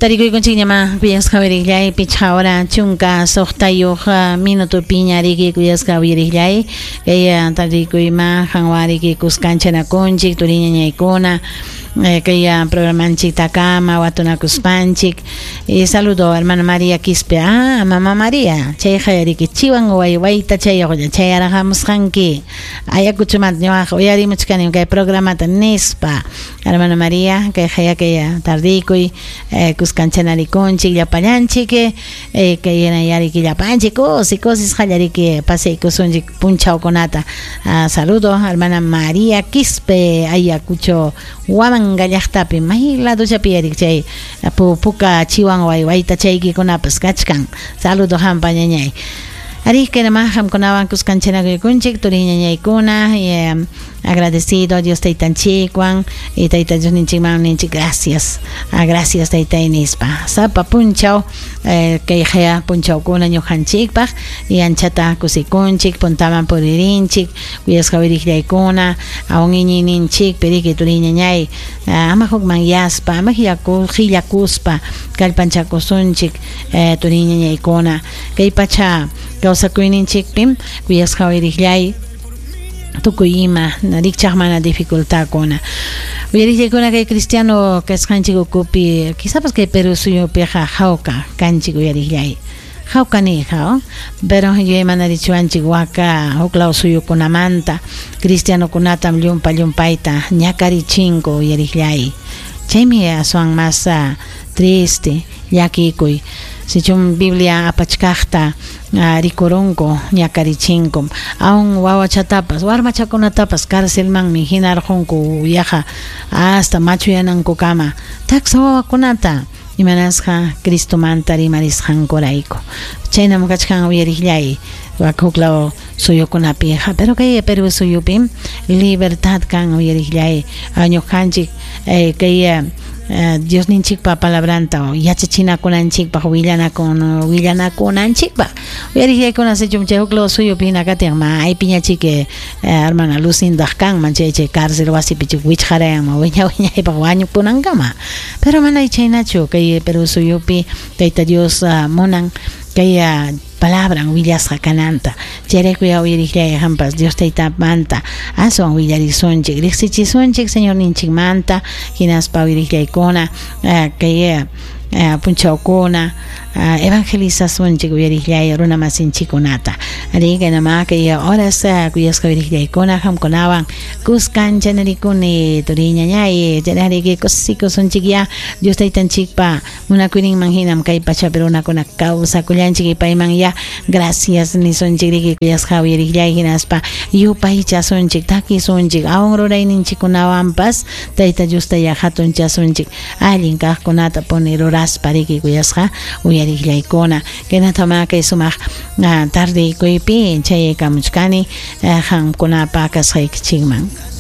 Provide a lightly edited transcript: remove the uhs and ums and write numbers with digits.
Tarikuykunchikñamá kuyasqa uyariqllay 5 hora 16 minutopiña riki kuyasqa uyariqllay kay tarikuyma qanwan riki kuskanchanakunchik turiñañaykuna kay programanchiktakama watunakuspanchik. Saludo hermana María Quispe. Ah, mamá María, chayqa riki chiwan waywayta chayuqlla chayaraqamusqanki Ayacuchomanta ñuqaqa uyarimuchkani kay programata nispa. Hermana María, kay kay tardikuy kuskanchanarikunchik llapallanchik kay yariki llapanchik kusi kusisqallariki pasaykusunchik punchawkunata. Saludo hermana María Quispe Ayacucho Huamanga llaqtapi may ladochapi yarik chay puka chiwan waywayta chaykikunapas kachkan. Saludo hampa ñañay. Ari kaynaman qamkunawan kuskanchanakuykunchik turiñañaykuna agradecido Dios taytanchikwan y tayta Diosninchikman ninchik gracias. Gracias taytay nispa. Sapa punchaw kay haya punchawkuna ñuqanchikpaq y anchata kusikunchik puntaman puririnchik kuyasqa wiriqllaykuna aun iñiyninchikpi riki turiñañay ama hukmanyaspa ama qillakuspa kallpanchakusunchik turiñañaykuna kay pacha kawsakuyninchikpim kuyasqa wiriqllay tukuy ima rikchaq mana dificultadkuna uyariqllaykuna kay cristiano kasqanchik ukupi quizapas kay Perú suyupiqa hawka kanchik uyariqllay hawka niyqa pero yuyaymanarichiwanchik waka huklaw suyukunamanta cristianokunatam llumpa llumpayta ñakarichinku uyariqllay chaymi aswan mas triste llakikuy sichum Biblia apachkaqta rikurunku ñakarichinkum aun wawachatapas warmachakunatapas carcelmanmi hinarqunku yaqa hasta machuyanankukama taksa wawakunata imanasqa Cristomanta rimarisqankurayku chaynam kachkan uyariqllay huklaw suyukunapiqa pero kay Perú suyupim libertad kan uyariqllay ñuqanchik kay Diosninchikpa palabranta yachachinakunanchikpaq willanakunanchikpaq uyariqllaykuna sichum chay huklaw suyupi hina katin maypiñachik hermana Lucindaq kanman chay cárcel wasipi chik wichqarayanman wiña wiñaypaq wañukunankama pero mana chaynachu kay Perú suyupi Tayta Dios munan kay palabran willasqa kananta chayrayku uyariqllay hampas Dios taytamanta aswan willarisunchik riqsichisunchik Señorninchikmanta hinaspa uyariqllaykuna kay punchawkuna evangelizasunchik uyariqllay runa masinchikkunata ari kaynama kay horas kuyasqa uyariqllaykuna qamkunawan kuskanchanarikuni turiñañay chayrariki kusikusunchik ya Dios taytanchikpa munakuyninman hinam kay pachapi runakuna kawsakullanchik payman ya gracias nisunchik riki kuyasqa uyariqllay hinaspa yupaychasunchik takisunchik aun rurayninchikkunawanpas Tayta Diosta ya hatunchasunchik allin kaqkunata puni ruraspa riki kuyasqa uyariqllaykuna kaynatama kay sumaq tardeykuypi chayaykamuchkani qamkunapa kasqaykichikman.